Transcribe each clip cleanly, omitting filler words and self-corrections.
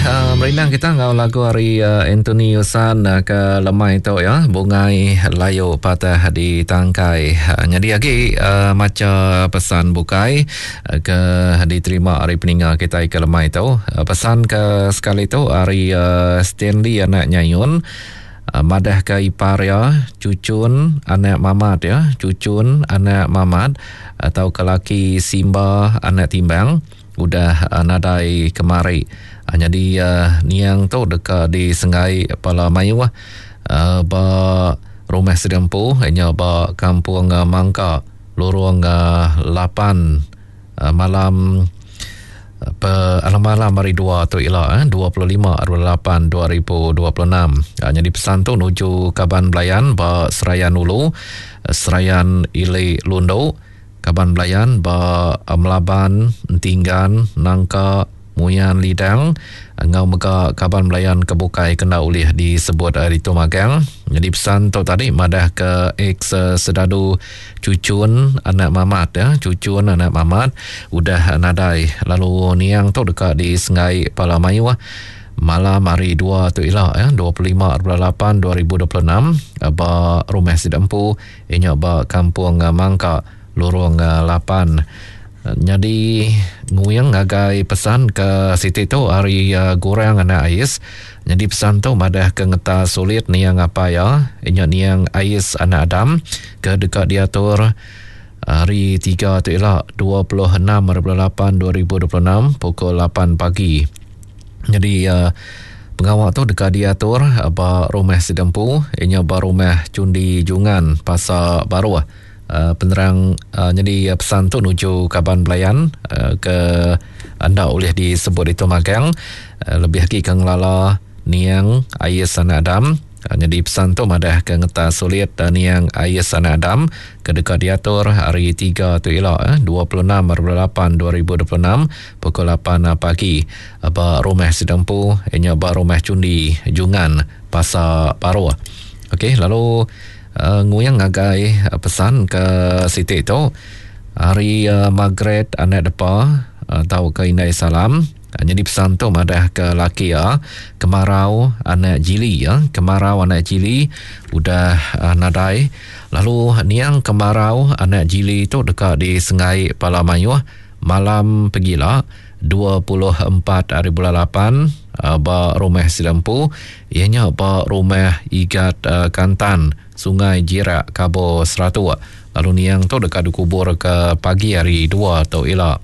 merindang kita enggau lagu ari Anthony Usan ke lemai tu ya, Bungai Layu Patah di Tangkai. Nyadi agi macha pesan bukai ke diterima ari peninga kitai ke lemai tu. Pesan ke sekali tu ari Stanley anak Nyayun madah ke ipar iya Chuchun anak Mamat ya, Chuchun anak Mamat tauka laki Simba anak Timbang. Udah nadai kemari. Nyadi niang tu deka disenggai bala mayuh ba rumah sida empu iya nya ba Kampung Mangka Lorong 8 malam malam hari dua tu ila 25 8 2026. Nyadi pesan tu nuju kaban belayan ba Serayan Ulu, Serayan Ili Lundu. Kaban belayan ba Melaban, Entinggan, Nangka, Muyan Lidang enggau mega kaban belayan ke bukai ke enda ulih disebut ditu magang. Nyadi pesan tu tadi madah ke ex sedadu Chuchun anak Mamat ya, Chuchun anak Mamat udah nadai lalu niang tu deka disenggai pala mayuh malam hari dua tu ila ya 25 8 2026 ba rumah sida empu Iya nya ba Kampung Mangka, Lurung 8. Nyadi nguing ngagai pesan ke siti tu ari Gurang anak Ais. Nyadi pesan tu madah ke ngeta sulit niang apai iya, iya nya niang Ais anak Adam ke deka diatur hari tiga tu ila 26 hari bulan 8 2026 pukul 8 pagi. Nyadi pengawa tu deka diatur ba rumah sida empu iya nya ba rumah Chundi Jungan Pasar Baruh. Penerang nyadi pesan tu nuju kaban belayan ke enda ulih disebut ditu magang lebih agi ke ngelala niang Ais Anak Adam. Nyadi pesan tu madah ke ngetas sulit niang Ais Anak Adam ke deka diatur hari tiga tu ila 26 hari 8 2026 pukul 8 pagi ba rumah sida empu iya nya ba rumah Chundi Jungan Pasar Paroh. Okey lalu nguing ngagai pesan ke siti tu hari Margaret Anak Depa tauka Indai Salam. Nyadi pesan tu madah ke laki iya Kemarau anak Jili ya. Kemarau anak Jili udah nadai lalu niang Kemarau anak Jili tu deka disenggai pala mayuh malam pegila 24 hari bulan 8 ba rumah sida empu iya nya ba rumah Igat Kantan Sungai Jirak Kabo Seratuk lalu niang tu deka dikubur ke pagi hari 2 tu ila.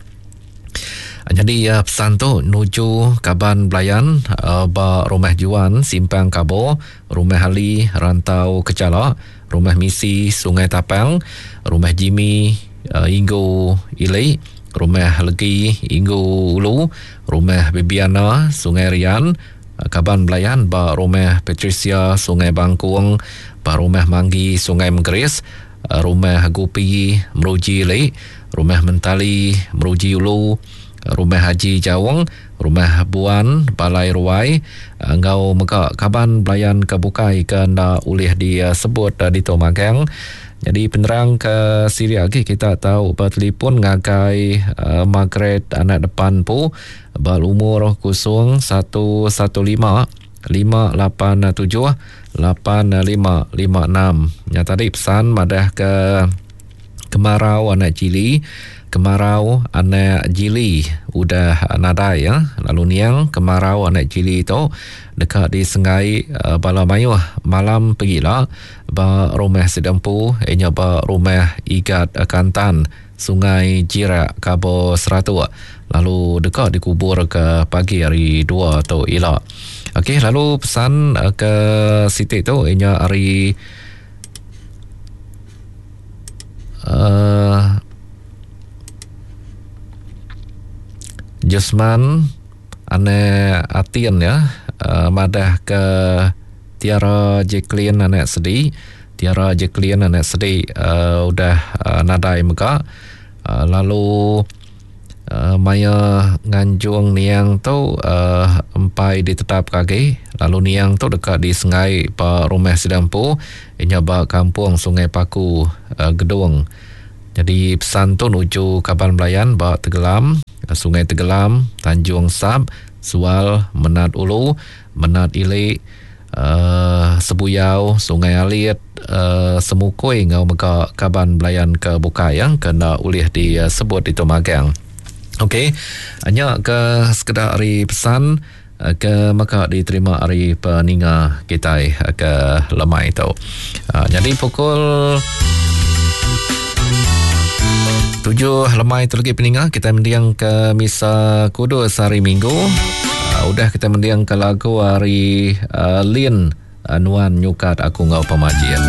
Nyadi pesan tu nuju kaban belayan ba Rumah Juan Simpang Kabo, Rumah Ali Rantau Kechala, Rumah Misi Sungai Tapang, Rumah Jimmy Inggu Ili, Rumah Legi Inggu Ulu, Rumah Bibiana Sungai Rian, kaban belayan ba Rumah Patricia Sungai Bangkung, ba Rumah Manggi Sungai Menggeris, Rumah Gupi Meruji Ili, Rumah Mentali Meruji Ulu, Rumah Haji Jaung, Rumah Buan Balai Ruai enggau mega kaban belayan ke bukai ke enda ulih disebut ditu magang. Nyadi penerang ke silik agi kita tau betelipon ngagai Margaret anak depan empu ba lumur 0115 587 8556. Nya tadi pesan madah ke kemarau anak Jili, kemarau anak Jili udah nadai ya. Lalu niang kemarau anak Jili tu deka disenggai bala mayuh malam pegila ba rumah sida empu iya nya ba rumah Igat Kantan Sungai Jirak Kabo Seratuk lalu deka dikubur ke pagi hari 2 tu ila. Okey lalu pesan ke siti tu inya hari uh, Jusman anak Atin ya uh, madah ke Tiara Jacqueline anak Sedi Tiara Jacqueline anak Sedi uh, udah uh, nadai mega uh, lalu uh, maya nganjung niang tu uh, empai ditetap ke agi lalu niang tu deka disengai ba rumah sida empu inya ba kampung Sungai Paku uh, Gedong. Jadi pesan tu nuju kaban belayan ba Tegelam, Sungai Tegelam, Tanjung Sap, Sual, Menat Ulu, Menat Ili, uhh Sebuyau, Sungai Alit, uhh Semukui enggau mega kaban belayan ke bukai ke enda ulih disebut ditu magang. Ok, nya ke sekeda ari pesan ke mega diterima ari peninga kitai ke lemai tu. Nyadi pukul tujuh lemai tu lagi peninga kitai mending ke misa kudus hari Minggu. Udah kitai mending ke lagu ari Lin Nuan Nyukat Aku Enggau Pemajik.